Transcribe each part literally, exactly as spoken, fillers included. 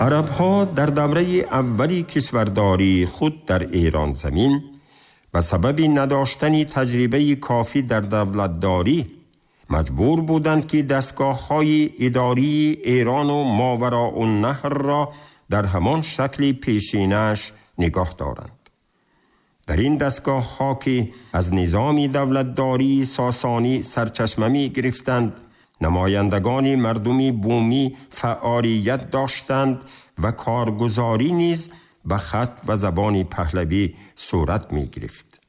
عربها در دوره اولی کشورداری خود در ایران زمین به سبب نداشتن تجربه کافی در دولتداری مجبور بودند که دستگاه‌های اداری ایران و ماوراء النهر را در همان شکل پیشینش نگاه دارند. در این دستگاه ها که از نظام دولتداری ساسانی سرچشمه می گرفتند، نمایندگان مردمی بومی فعالیت داشتند و کارگزاری نیز به خط و زبان پهلوی صورت می گرفت.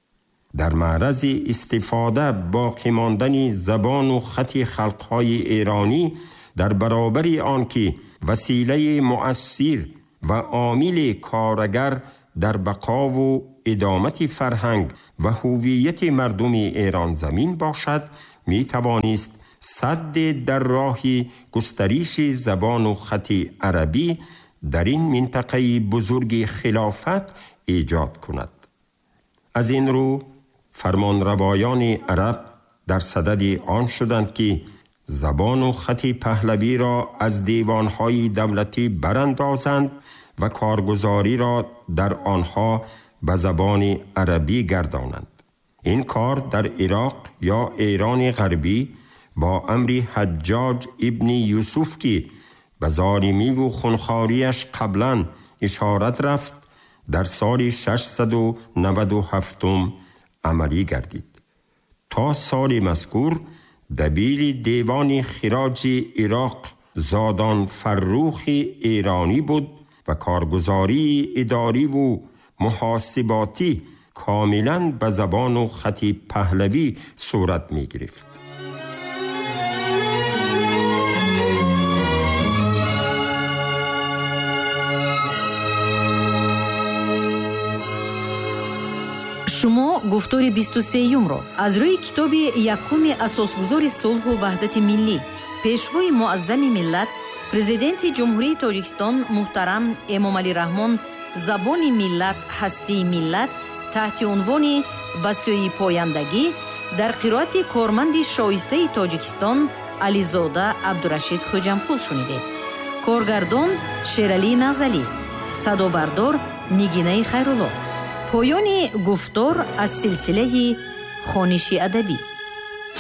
در معرض استفاده باقی ماندن زبان و خط خلقهای ایرانی در برابر آنکه وسیله مؤثر و عامل کارگر در بقا و ادامت فرهنگ و هویت مردم ایران زمین باشد، می توانست سد در راه گسترش زبان و خط عربی در این منطقه بزرگ خلافت ایجاد کند. از این رو فرمانروایان عرب در صدد آن شدند که زبان و خط پهلوی را از دیوانهای دولتی براندازند و کارگزاری را در آنها به زبان عربی گردانند. این کار در عراق یا ایران غربی با امر حجاج ابن یوسف که به ظالمی و خونخواریش قبلا اشارت رفت در سال ششصد و نود و هفت عملی گردید. تا سال مذکور دبیر دیوان خراج عراق زادان فرخ ایرانی بود و کارگزاری اداری و محاسباتی کاملا به زبان و خط پهلوی صورت می گرفت. Шумо гуфтори бисту сеюмро аз рӯи китоби якуми асосгузори сулҳу ваҳдати миллӣ, пешвои муаззами миллат, президенти Ҷумҳурии Тоҷикистон муҳтарам Эмомалӣ Раҳмон «Забони миллат, ҳастии миллат» таҳти унвони «Ба сӯи пояндагӣ» дар қироати корманди шоистаи Тоҷикистон Ализода Абдурашид Хӯҷамқул шунидед. Коргардон Шералӣ Назалӣ, садобардор Нигинаи Хайрулло. Поёни гуфтор аз силсилаи хониши адабӣ.